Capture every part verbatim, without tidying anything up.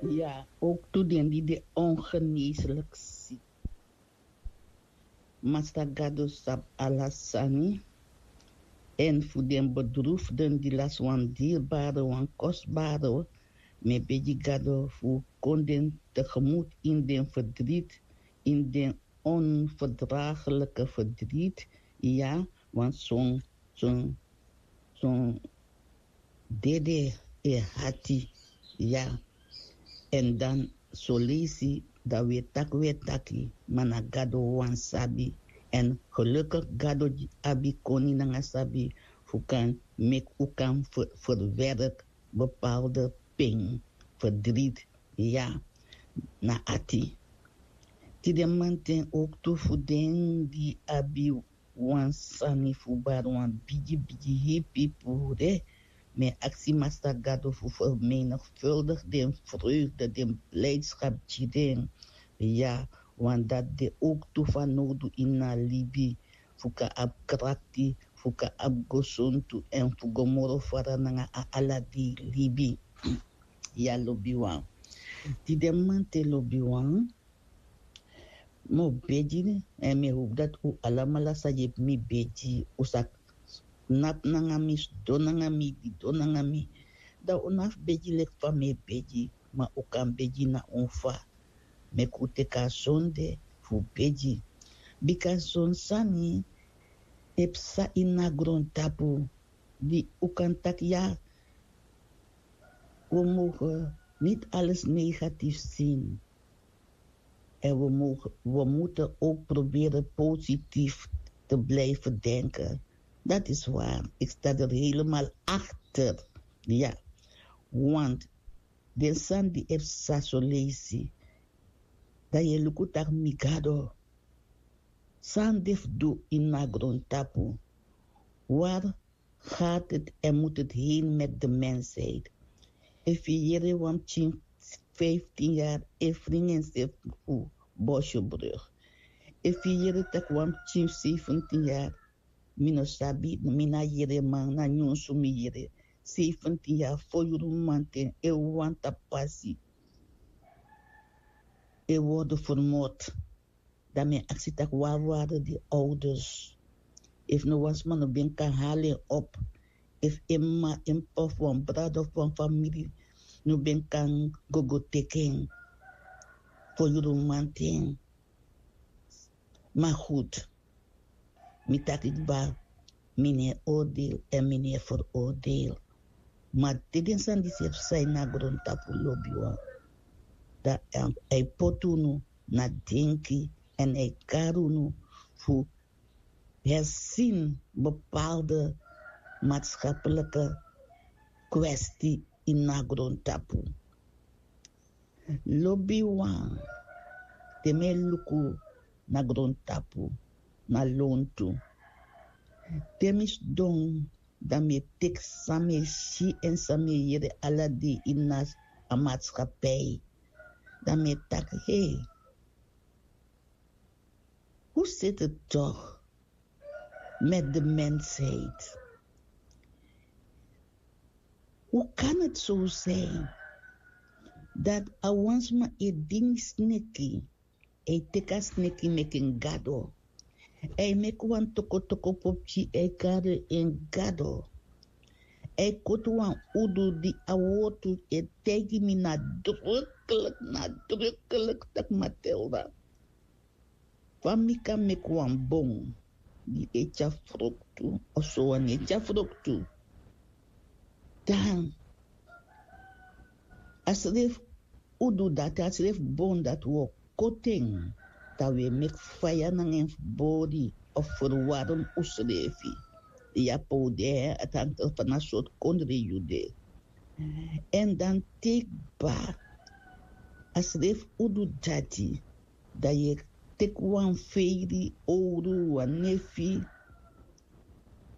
Ya, ook tu den di de ongeneeslijk ziek. Masta Gado sabi ala sani. En fu den bedroefden di lasi wan dierbare, wan kostbare, mi e begi Gado fu kon den tegemoet in den verdriet, in den onverdraaglijke verdriet. Ya, want son, son, son dede e hati. Ya. En dan soleisi dan wi e taki, wi e taki, ma na Gado wan sabi. En gelukkig Gado di abi koni nanga sabi fu kan meki u kan ver- verwerk bepaalde ping, verdriet, ya, na ati. Tide manten ook tu fu den di abi wan sani fu bari wan bigi bigi hepi pure. Mi e aksi Masta Gado fu vermenigvuldig den vreugde, den blijdschap gi den. Ya, want dat de ook tu fanowdu ini a libi, fu kan abi krakti, fu kan abi gesontu, en fu go moro fara nanga a ala dei libi. Ya, lobiwan. Tide manten, lobiwan, mi o begi, en mi e hopi dati un alamala sa yepi mi begi, un sa knapu nanga mi, sidon nanga mi, didon nanga mi. Dan un no abi fu begi leki fa mi e begi, ma un kan begi na un fa. Meki un teki a sonde fu begi. Bika son sani e psa ini a grontapu, di un kan taki ya, we mogen niet alles negatief zien. En we mogen, we moeten ook proberen positief te blijven denken. Dat is waar. Ik sta er helemaal achter. Ja, want den sani di e psa so leisi, dan yu e luku taki mi Gado, san de fu du ini a grontapu? Waar gaat het en moet het heen met de mensheid? Efu yu yere wan pikin vijftien jaar e fringi ensrefi fu Bosjebrug. Efu yu yere taki wan pikin zeventien jaar, mi no sabi, mi na yereman, na nyunsu mi yere, zeventien jaar, fo yuru mamanten e wanta pasi, e worden vermoord. Dan mi e aksi taki waar waren die ouders? Efu no wan sma no ben kan halen op, efu en mama, en p'pa of wan brada of wan famiri no ben kan go go teki en fo yuru mamanten. Maar goed, mi taki kba, mi no e oordeel en mi no e veroordeel. Maar te den sani disi e psa ini a grontapu, lobiwan, dan a e poti unu na denki en a e kari unu fu herzien bepaalde maatschappelijke kwestie ini a grontapu. Lobiwan, te mi e luku na grontapu, na lontu, te mi sidon, dan mi e teki san mi e si en san mi e yere ala dei ini a maatschappij. Dan mi e taki, hei, hoe zit het toch met de mensheid? Hoe kan het zo zijn dat a wan sma e dini sneki, a e teki a sneki meki en gado, a e meki wan tokotoko popki, a e kari en gado, a e koti wan udu di a wortu e taigi mi nadrukkelijk, nadrukkelijk taki Matilda, fa mi kan meki wan bon di e tyari froktu, of so wan e tyari froktu. Dan a srefi udu dati, a srefi bon dati, wi o koti en, dan wi e meki faya nanga en fu bori of ferwarm unsrefi. Ya, pe un de, a tan fa na sortu kondre yu de. En dan te kba, a srefi udu dati, dan yu e teki wan feri, owru, wan nefi,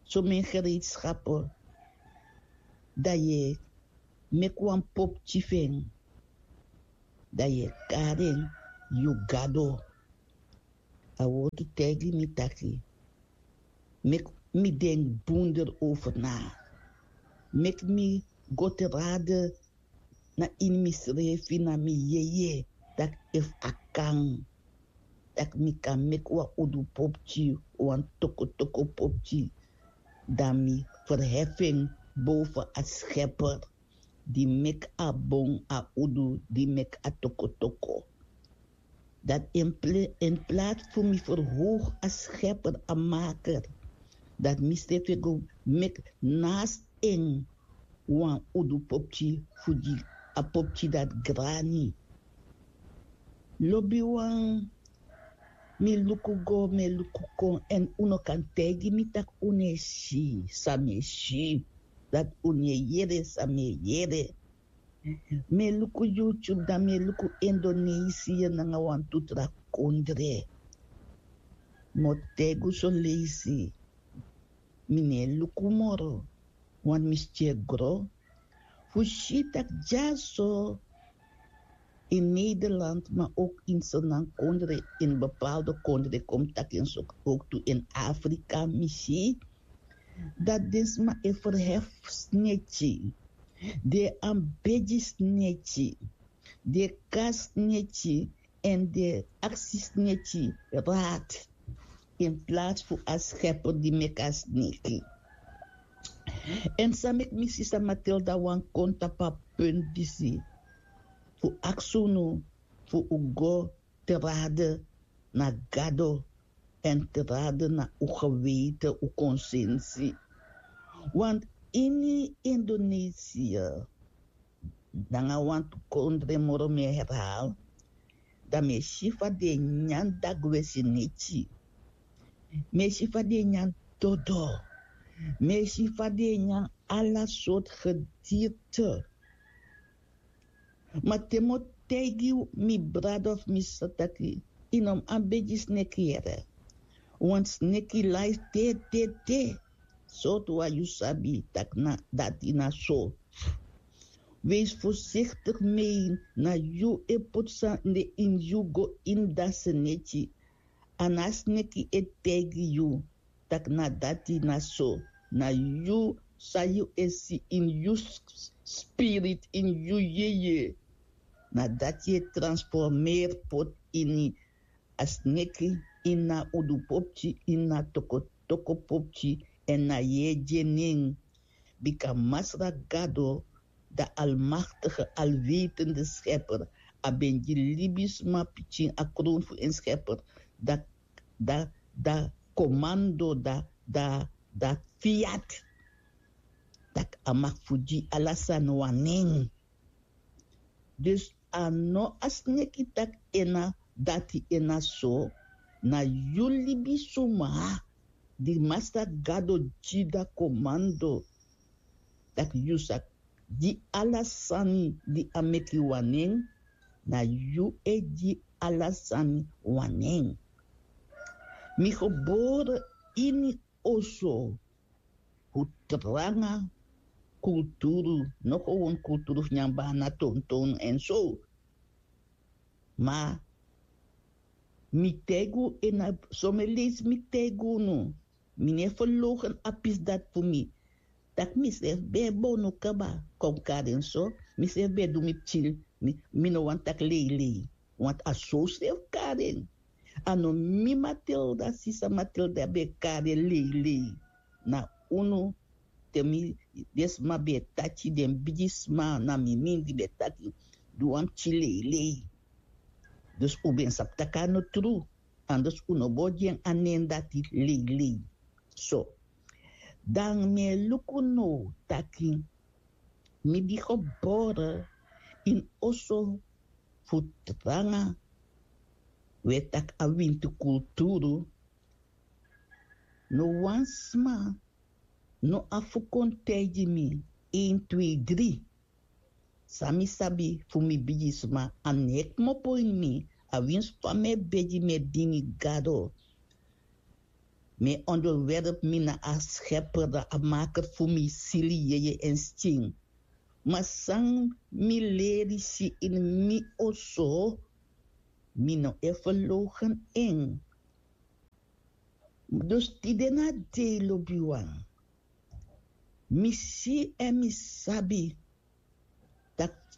somen gereedschappen, dan yu e meki wan popki fu en, dan yu e kari en yu gado. A wortu taigi mi taki, meki mi denki bun erover na, meki mi go te rade na ini misrefi na mi yeye, tak' efu a kan, tak' mi kan meki wan udu popki, wan tokotoko popki, dan mi ferhefi en boven a scheper di meki a bon, a udu di meki a tokotoko. Dat in pla- in plaats fu mi verhoog a scheper, a maker, dat mi srefi go meki naast en wan udu popki fu di a popki dat grani. Lobiwan, mi luku go, mi luku kon, en unu kan taigi mi tak' unu e si san mi e si, dat' unu e yere san mi e yere. Mi e luku YouTube, dan mi e luku Indonesië nanga wantu tra kondre. Mi o taigi un son leisi, mi no e luku moro, want mi skin e gro. Fu si tak' dyaso in Nederland, maar ook in Sernang kondre, in bepaalde kondre, komt tak' in so ook toe in Afrika, mi si dat den sma e verhef sneki, den e ambegi sneki, den e kas sneki, en den e aksi sneki raad in plaats fu a scheper di meki a sneki. En san meki mi sisa Matilda wani kon tapu a punt disi, fu aksi unu fu un go te raden na Gado, en te raden na un geweten, un konsensi. Want ini Indonesië, nanga wantu kondre moro, mi e herhaal, dan mi e si fa den e nyan dagwe sneki. Mi e si fa den e nyan dodo. Mi e si fa den e nyan ala sortu gedierte. Ma te mi o taigi mi brada of mi sisa taki, yu no mus ambegi sneki yere. Want sneki lai te, te, te. Sortu wan yu sabi taki na dati na so. Wees voorzichtig mee, na yu e poti sani ini yu go ini a sneki. A no a sneki e taigi yu taki na dati na so. Na yu san yu e si ini yu s- spirit, ini yu yeye. Na dati e transformeri poti ini a sneki, ini a udu popki, ini a toko toko popki, en na yu e gi en nen. Bika Masra Gado, de almachtige, alwetende schepper, a ben gi libisma pikin a kroon fu en schepper, da, da, da commando, da, da, da fiat, taki a mag fu gi ala sani wan nen. Dus a no a sneki taki en na dati, en na so. Na yu libisma di Masra Gado gi a commando taki yu sa gi ala sani di a meki wan nen, na yu e gi ala sani wan nen. Mi gebore ini oso fu tranga kulturu, no gewoon kulturu fu nyan bana, tonton en so. Ma mi taigi unu, en na so mi e leisi, mi taigi unu. Mi no e verloochenen a pisi dati fu mi. Taki misrefi ben e bonu kaba, kon kari en so. Misrefi ben e du mi pikin, mi, mi no wani taki leilei. Want a so srefi kari en. A no mi Matilda, sisa Matilda ben e kari en leilei. Na unu, te mi, den sma ben e taki, den bigisma na mi mindri ben e taki, du wan pikin leilei. Dus un ben sabi taki a no tru. Anders un no bo gi en a nen dati, leilei. So, dan mi e luku now taki mi di gebore ini oso fu tranga, we taki a winti kulturu. No wan sma no abi fu kon taigi mi, een, twee, drie. San mi sabi fu mi bigisma, a no e kmopo ini mi. A winsi fa mi e begi, mi e dini Gado. Mi e onderwerp mi na a schepper, a maker fu mi sili, yeye en skin. Ma san mi leri si ini mi oso, mi no e verloochenen en. Dus tide na dei, lobiwan, mi si en mi sabi taki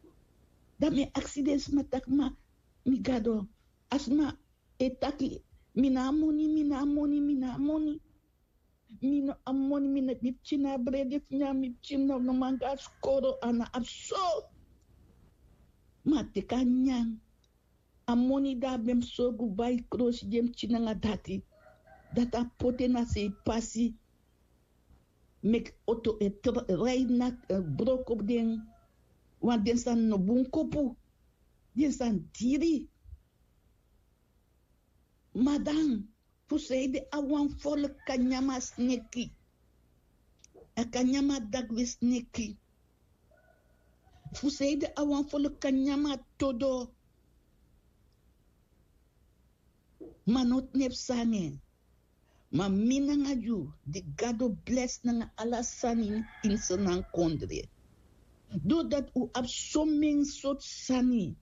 Dan mi e aksi den sma taki ma, mi gado, a sma e taki, mi no abi moni, mi no abi moni, mi no abi moni. Mi no abi moni, mi no, mi pikin no abi brede fu nyan, mi pikin no, no man go na skoro, a no abi so. Ma a teki a nyan. A moni di a ben mus sorgu bai krosi di en pikin nanga dati, dati a poti en na sei pasi. Meki oto e tra- rai na, eh, broko den. Wan den sani no bun kopu. Den sani diri. Madan, fu sanede a wan folku kan nyan mi a sneki? A kan nyan mi a dagwe sneki. Fu sanede a wan folku kan nyan mi a todo? Ma no tnepu sani. Ma mi nanga yu, di Gado blesi nanga ala sani ini Sranan kondre. Doordat un abi somen sortu sani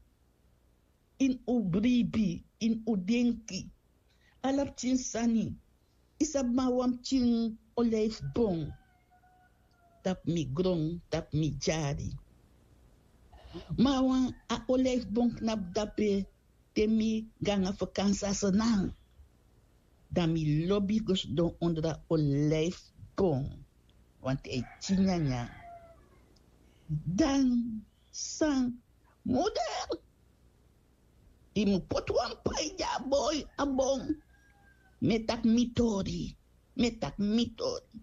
ini un bribi, ini un denki. Ala pikin sani. Yu sabi, ma wan pikin olijfboom, tapu mi gron, tapu mi dyari. Ma wan a olijfboom knapu dape, te mi go nanga vakansi na Sranan, dan mi lobi go sidon ondro a olijfboom. Want a e tyari nyanyan. Dan san, moeder, yu mu poti wan pai gi a boi, a bon. Mi e taki mi tori. Mi e taki mi tori.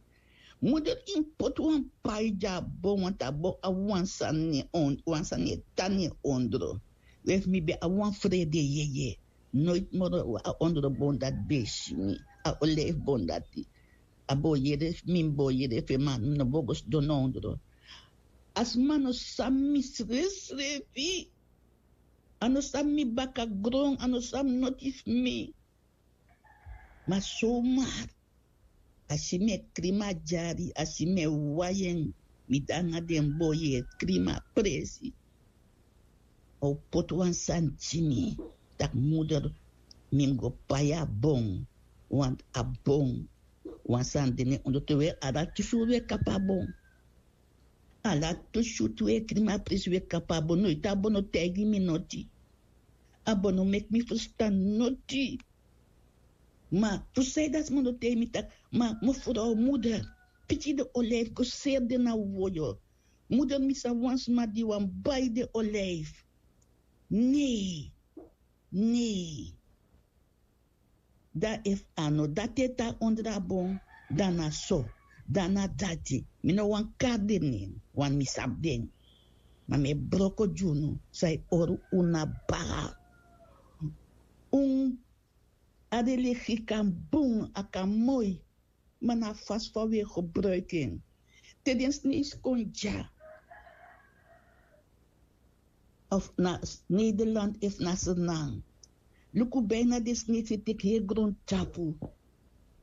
Moeder, yu mu poti wan pai gi a bon, want a bon abi wan sani na en on-, wan sani e tan na en ondro. We, efu mi ben abi wan frede yeye, noiti moro a ondro bon dati ben e si mi. A olijfboom dati. A bo yere, mi bo yere fu en, ma mi no bo go sidon na ondro. A sma no sabi mi srefsrefi. A no sabi mi bakagron, a no sabi noti fu mi. Ma somar, a si mi e krima dyari, a si mi e wai en, mi de nanga den boi e krima presi. A o poti wan sani gi mi, taki moeder, mi mu go pai a bon, want a bon, wan sani de na en ondro. Te we, ala tu suru we kapu a bon. Ala tu suru tu we krima presi we kapu a bon. Noiti a bon no taigi mi noti. A bon no meki mi ferstan noti. Ma fu sanede a sma no taigi mi taki, ma mevrouw moeder, piki den olijf go seri den na woyo. Moeder, mi sabi wan sma di wani bai den olijf. Nei, nei. Dan efu a no dati e tan ondro a bon, dan na so, dan na dati. Mi no wani kari den nen, want mi sabi den. Ma mi e broko gi unu san e hori unu na baga. Un, a religie kan bun, a kan moi, ma na a fasi fa wi e gebruiki en. Te den Sneisi kon dya, of na Nederland efu na Sranan, luku, bijna den Sneisi e teki heri grontapu.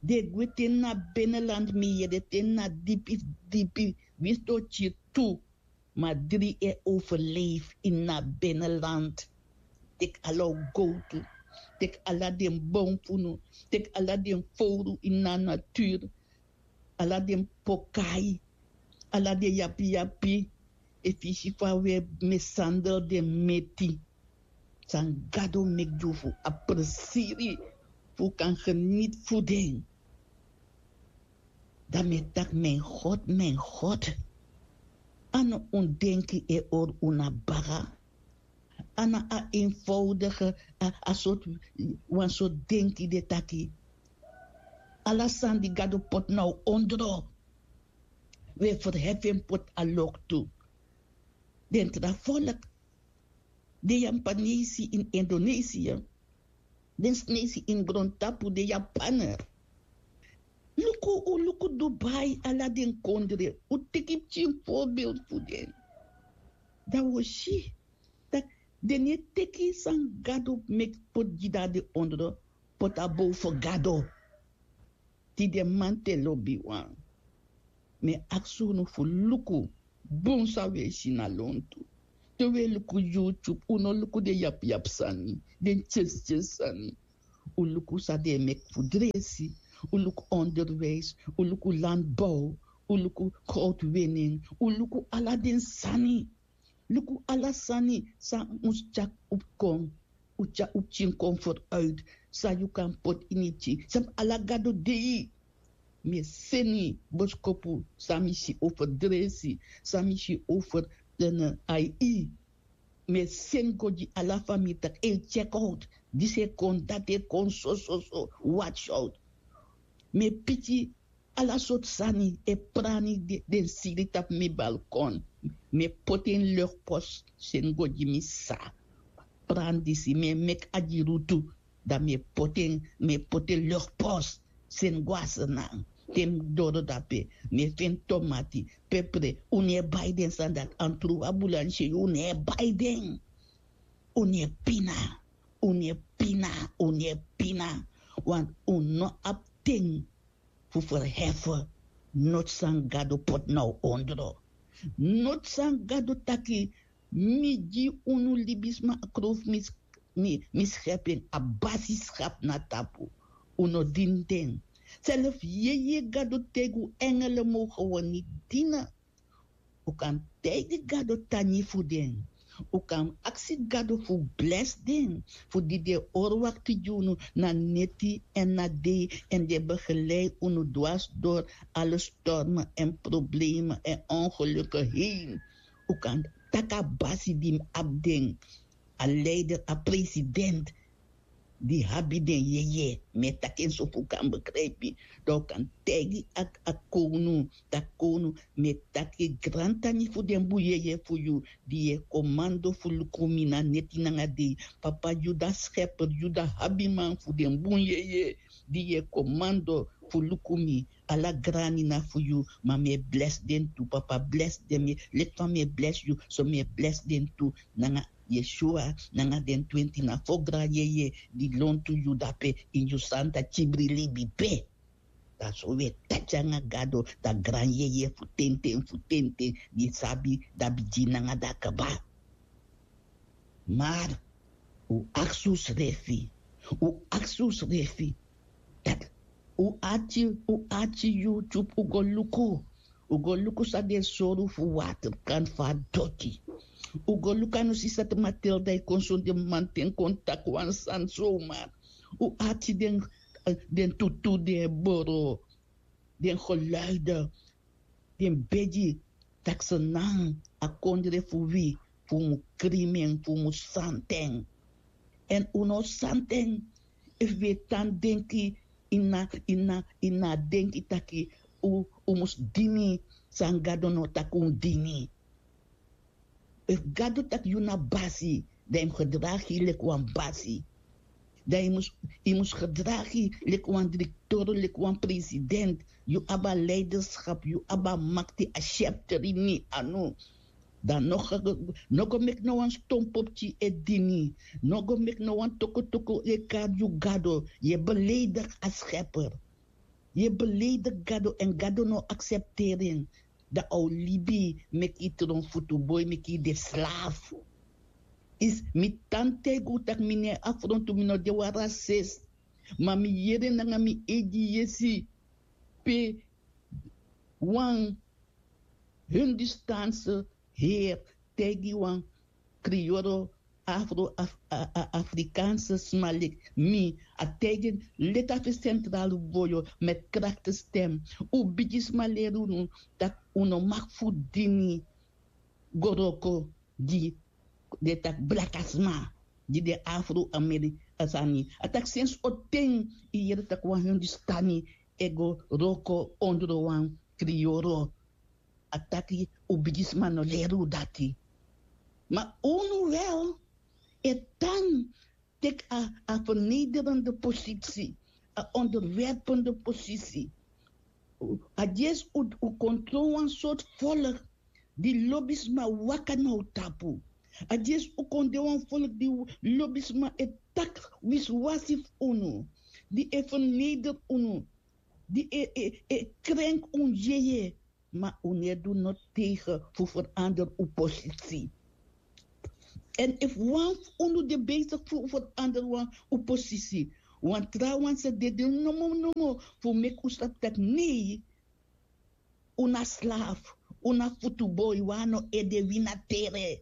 Den e gwe te na binnenland, mi yere, te na dipi, dipi, winsi den o kiri tu. Ma dri e overleef ini a binnenland. Teki ala un gowtu, teki ala den bon fu unu, teki ala den fowru ini a natuur, ala den pokai, ala den yapiyapi. Efu yu si fa wi e mishandel den meti, san Gado meki gi un fu a presiri, fu un kan geniet fu den. Dan mi e taki, mijn God, mijn God. A no un denki e hori un na baga. A na a eenvoudige, a, a sortu, wan sortu denki de taki, ala sani di Gado poti na un ondro, wi e verhefi en poti a loktu. Den tra volk, den Japanesi ini Indonesië, den Sneisi ini grontapu, den Japaner. Luku, un luku Dubai, ala den kondre, un teki pikin voorbeeld fu den. Dan wi o si taki den no e teki san Gado meki poti gi den na den ondro, poti a bow fu Gado. Tide man te lobiwan, mi e aksi unu fu luku bun san wi e si na lontu. Te wi e luku YouTube, un no luku den yapiyapi sani, den tyesityesi sani. Un luku san den e meki fu dresi, un luku onderwijs, un luku landbouw, un luku goudwinning, un luku ala den sani. Luku ala sani san mus tyaki upu kon. Un tyari un pikin kon foruit. San yu kan poti ini pikin san ala gado dei. Mi e seni boskopu san mi si over dresi, san mi si over ai. Mi e seni go gi ala famiri tak' e tyek out. Disi e kon, dati e kon, sososo, watch out. Mi e piki ala sortu sani e prani den siri tapu mi balkon. Mi e poti en luchtpos, seni go gi mi sa. Prani disi mi e meki agirutu. Dan mi e poti en, mi e poti en luchtpos, seni go a snan. Te mi doro dape, mi e feni tomati, pepre. Un no e bai den sani dati, antruwa bulansi, un no e bai den. Un no e pina, un no e pina, un no e pina. Want un no abi ten fu ferhefe noti san gado poti na un ondro. Noti san gado taki, mi gi unu libisma a krofu, mi skepi en a basi skapu na tapu. Un no dini den. Selefi yeye gado taigi un engele mogen we niti dina. Un kan taigi gado tangi fu den. Un kan aksi gado fu blesi den, fu di den e orwakti gi unu na neti èn na dei, èn den e begelei unu dwasi dori ala stormen èn problemen èn ongeluken heen. Un kan taki a basi di mus abi den, a leider, a president di abi den yeye. Mi e taki en so fu un kan begrijpi. Dan un kan taigi a kownu, taki kownu, mi e taki grantangi fu den bun yeye fu yu, di yu e komando fu luku mi na neti nanga dei. Papa, yu dati skeper, yu dati abiman fu den bun yeye, di yu e komando fu luku mi. Ala grani na fu yu, ma mi e blesi den tu. Papa, blesi den, mi e leki fa mi e blesi yu, so mi e blesi den tu. Nanga yeshua nanga den twenti na fo gran yeye di lontu yu dape ini yu santa kibri libi pe. Dan so wi e taki nanga gado, dan gran yeye fu tenten fu tenten, di sabi, dan bigin nanga dan kaba. Mar un aksi unsrefi, un aksi unsrefi, dati un ati, un ati yu tyupu un go luku, un go luku san den e sori un fu waterkant fu a doti. Un go luku a no si sati matilda e kon son den manten kon taki wan sani somar. Un ati den, den tutu den e boro, den geluide, den begi, taki senan a kondre fu wi, fu un mus krimen, fu un mus santen. Èn un no santen efu wi e tan denki ini a ini a ini a denki taki un mus dini san gado no taki un dini. Efu gado taki yu na basi, dan yu mus gedragi yu leki wan basi. Dan yu mus yu mus gedragi yu leki wan direktoro leki wan president. Yu abi a leiderskap, yu abi a makti, a syepteri ini yu anu. Dan no go meki no wan stonpopki e dini. No go meki no wan tokotoko e kari yu gado. Yu e beleidigi a skeper. Yu e beleidigi gado èn gado no aksepteri en. Dan a o libi meki yu tron futuboi, meki yu de slafu. Isi mi tan taigi un tak' mi no e afrontu, mi no de wan rasis. Ma mi yere nanga mi eigi yesi pe wan hindustanse heri taigi wan kriyoro afro-afrikaanse sma leki mi. A taigi en leti a fu sentrali voyo met krakte stem. Un bigisma leri unu tak' un no maki fu dini go wroko gi den tak' blaka sma, gi den afro-amerika sani. A taki sensi o ten yu yere tak' wan hindustani e go wroko ondro wan kriyoro. A taki un bigisma no leri un dati. Ma unu wel e tan teki a vernederende posisi, a onderwerpende posisi. A dyesi un kontrol wan sortu volk di lobi sma waka na un tapu. A dyesi un kon de wan volk di lobi sma e taki wisiwasi fu unu, di e verneder unu, di e krenk un yeye. Ma un no e du no tegen fu verander un posisi. Èn efu wan fu unu de besigi fu verander wan un posisi, wan trawan sa dede nomo nomo fu meki un sabi tak' nei, un na slafu, un na futuboi, wan no ede, wi na tere.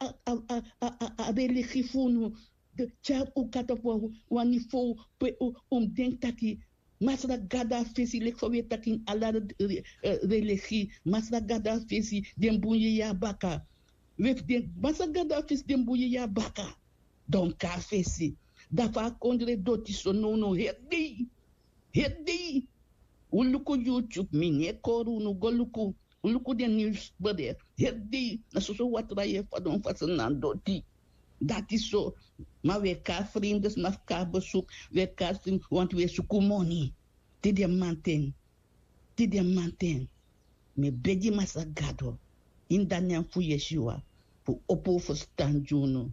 a, a, a, a, a, a religi fu unu. Tyari un kata fu wan, wan niveau pe un, un mus denki taki Masra Gado a fesi, leki fa wi e taki ini ala re-, eh, religi. Masra Gado a fesi, den bun yeye a baka. Wi e fu den, Masra Gado a fesi, den bun yeye a baka. Donki a fesi. Dan fa a kondre doti so nownow heri dei. Heri dei. Un luku YouTube, mi no e kori unu, go luku. Un luku den nieuwsbericht. Heri dei, na soso watra yu e fadon fasi na doti. Dati so, ma wi e kon na vreemde sma fu kon na bezoek, wi e kon na vreemde, want wi e suku moni. Te den mamanten, te den mamanten, mi e begi Masra Gado, ini a nen fu Yeshua, fu opo un ferstan gi unu.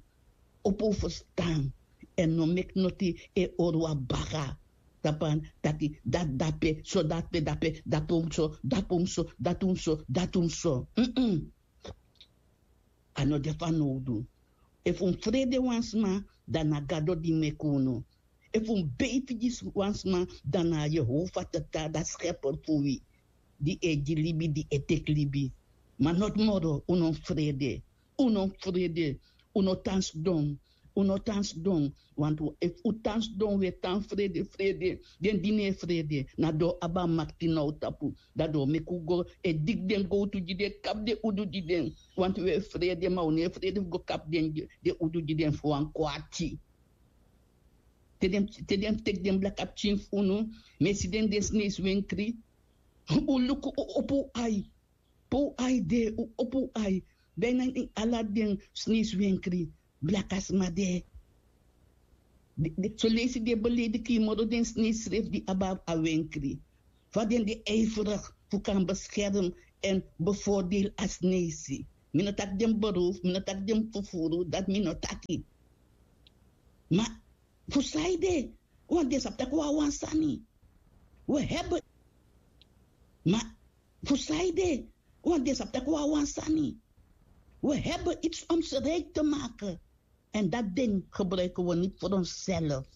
Opo un ferstan. Èn no meki noti e hori unu baka. Tapu a taki, dati dape, so dati dape, dati un so, dati un so, dati un so, dati un so. Mm-mm. A no de fanowdu. Efu un frede wan sma, dan na Gado di meki unu. Efu un beifi gi wan sma, dan na Yehova Tata, a Schepper fu wi. Di e gi libi, di e teki libi. Ma noti moro, un no frede. Un no frede. Un no tan sidon. Un no tan sidon. Want efu un tan sidon, un e tan frede, frede. Den di no e frede, na den o abi a makti na un tapu. Dan den o meki un go e diki den gowtu gi den, kapu den udu gi den. Want un e frede, ma un no e frede fu go kapu den, den udu gi den fu wan kwati. Te den, te den teki den blaka pikin fu unu, mi e si den, den sneisi wenkri. Un luku, un opo un ai. Pe un ai de, un opo un ai. Dan na ini ala den sneisi wenkri, blaka sma de. Den, den, son leisi den e beledigi yu moro den sneisi srefi di abi a wenkri. Fa den de ijverig fu kan bescherm èn bevoordeel a sneisi. Mi no taki den beroof, mi no taki den fufuru, dati mi no taki. Ma fu saide, want den sabi taki un abi wan sani. We hebben. Ma Fu san ede? Want den sabi tak' wi na wan sani. Wi heben its om se rijk te maken. En dat ding gebruiken wi niti fu onself.